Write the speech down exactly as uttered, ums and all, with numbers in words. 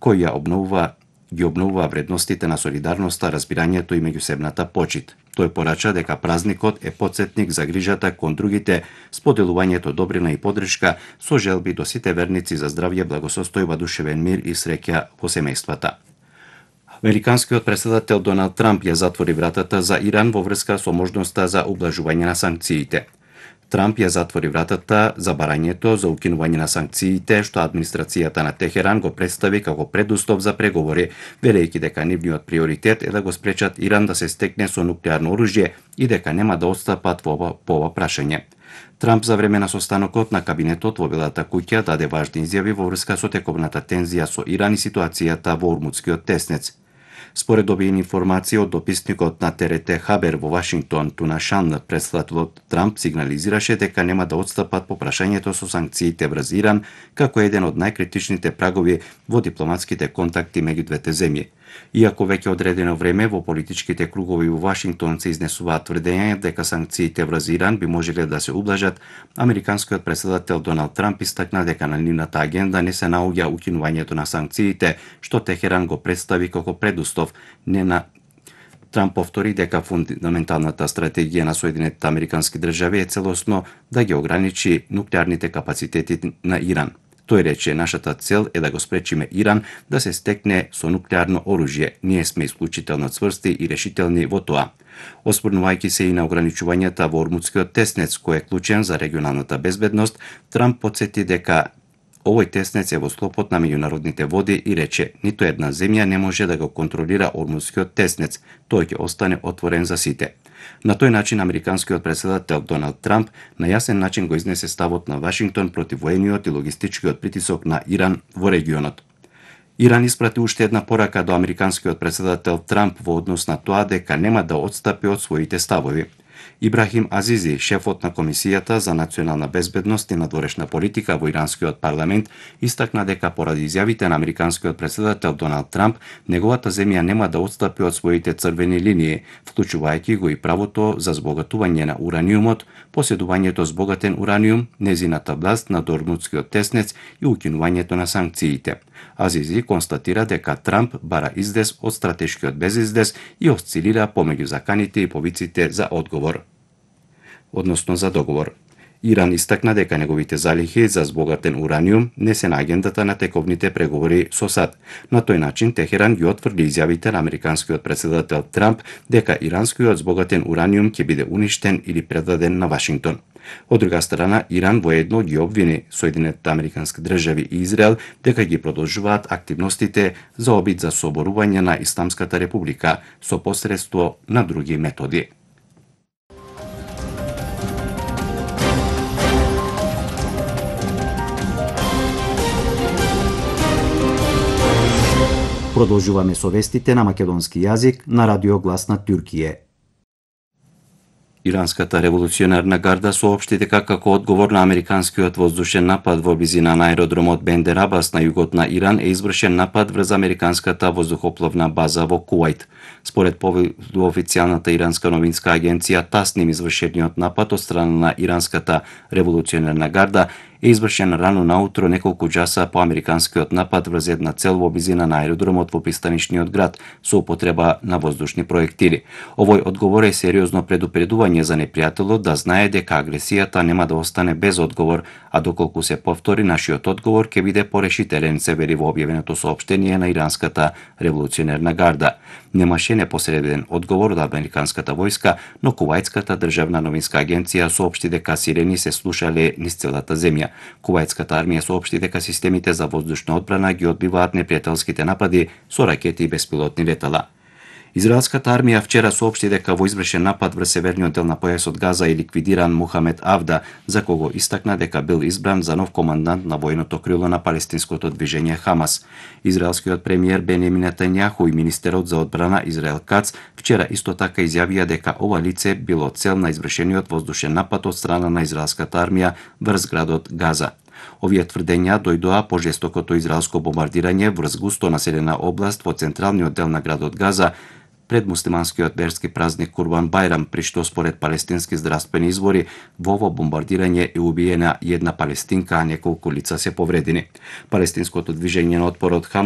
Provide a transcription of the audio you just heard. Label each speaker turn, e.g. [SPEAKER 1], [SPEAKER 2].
[SPEAKER 1] кој ја обновува ги обновува вредностите на солидарноста, разбирањето и меѓусебната почит. Тој порача дека празникот е потсетник за грижата кон другите, споделувањето добрина и подршка со желби до сите верници за здравје, благосостојба, душевен мир и среќа во семејствата. Американскиот претседател Доналд Трамп ја затвори вратата за Иран во врска со можноста за ублажување на санкциите. Трамп ја затвори вратата за барањето за укинување на санкциите што администрацијата на Техеран го представи како предуслов за преговори, велејќи дека нивниот приоритет е да го спречат Иран да се стекне со нуклеарно оружје и дека нема да отстапат во ова, по ова прашање. Трамп за време на состанокот на кабинетот во Белата куќа даде важни изјави во врска со тековната тензија со Иран и ситуацијата во Ормутскиот теснец. Според објавени информации од дописникот на Т Р Т Хабер во Вашингтон, Туна Шан, претседателот Трамп сигнализираше дека нема да отстапат по прашањето со санкциите врз Иран како еден од најкритичните прагови во дипломатските контакти меѓу двете земји. Иако веќе одредено време во политичките кругови во Вашингтон се изнесуваат тврдења дека санкциите врз Иран би можеле да се ублажат, американскиот претседател Доналд Трамп истакна дека на нивната агенда не се наоѓа укинувањето на санкциите, што Техеран го представи како предуслов, не на Трамп повтори дека фундаменталната стратегија на Соединетите Американски држави е целосно да ги ограничи нуклеарните капацитети на Иран. Тој рече, нашата цел е да го спречиме Иран да се стекне со нуклеарно оружје. Ние сме исклучително цврсти и решителни во тоа. Осврнувајќи се и на ограничувањата во Ормутскиот теснец, кој е клучен за регионалната безбедност, Трамп потсети дека овој теснец е во склопот на меѓународните води и рече, ниту една земја не може да го контролира Ормутскиот теснец, тој ќе остане отворен за сите. На тој начин американскиот претседател Доналд Трамп на јасен начин го изнесе ставот на Вашингтон против воениот и логистичкиот притисок на Иран во регионот. Иран испрати уште една порака до американскиот претседател Трамп во однос на тоа дека нема да отстапи од своите ставови. Ибрахим Азизи, шефот на Комисијата за национална безбедност и надворешна политика во иранскиот парламент, истакна дека поради изјавите на американскиот претседател Доналд Трамп, неговата земја нема да отстапи од своите црвени линии, вклучувајќи го и правото за збогатување на ураниумот, поседувањето збогатен ураниум, незината власт над Ормутскиот теснец и укинувањето на санкциите. Азизи констатира дека Трамп бара издес од стратешкиот безиздес и осцилира помеѓу заканите и повиците за одговор, односно за договор. Иран истакна дека неговите залихи за збогатен ураниум не се на агендата на тековните преговори со САД. На тој начин Техеран ги отврди изјавите на американскиот претседател Трамп дека иранскиот збогатен ураниум ќе биде уништен или предаден на Вашингтон. Од друга страна, Иран воедно ги обвини Соединетите Американски држави и Израел дека ги продолжуваат активностите за обид за соборување на Исламската република со посредство на други методи. Продолжуваме со вестите на македонски јазик на Радио Глас на Туркија. Иранската револуционарна гарда соопшти дека како одговор на американскиот воздушен напад во близина на аеродромот Бендер Абас на југот на Иран е извршен напад врз американската воздухопловна база во Кувајт. Според официјалната иранска новинска агенција ТАСНИМ, извршениот напад од страна на иранската револуционарна гарда е извршен рано наутро неколку часа по американскиот напад врз една цел во близина на аеродромот во пристанишниот град со употреба на воздушни проектили. Овој одговор е сериозно предупредување за непријателот да знае дека агресијата нема да остане без одговор, а доколку се повтори, нашиот одговор ќе биде порешителен, се вели во објавеното соопштение на иранската револуционерна гарда. Немаше непосреден одговор од американската војска, но Кувајтската државна новинска агенција соопшти дека сирени се слушале низ целата земја. Кувајтската армија соопшти дека системите за воздушна одбрана ги одбиваат непријателските напади со ракети и беспилотни летала. Израелската армија вчера соопшти дека во извршен напад врз северниот дел на појасот Газа е ликвидиран Мухамед Авда, за кого истакна дека бил избран за нов командант на војното крило на палестинското движење Хамас. Израелскиот премиер Бенјамин Нетањаху и министерот за одбрана Израел Кац вчера исто така изјавија дека ова лице било цел на извршениот воздушен напад од страна на израелската армија врз градот Газа. Овие тврдења дојдоа по жестокото израелско бомбардирање врз густо населена област во централниот дел на градот Газа пред муслиманскиот верски празник Курбан Бајрам, при што според палестински здравствени извори во ово бомбардирање е убиена една палестинка, а неколку лица се повредени. Палестинското движење на отпорот Хамас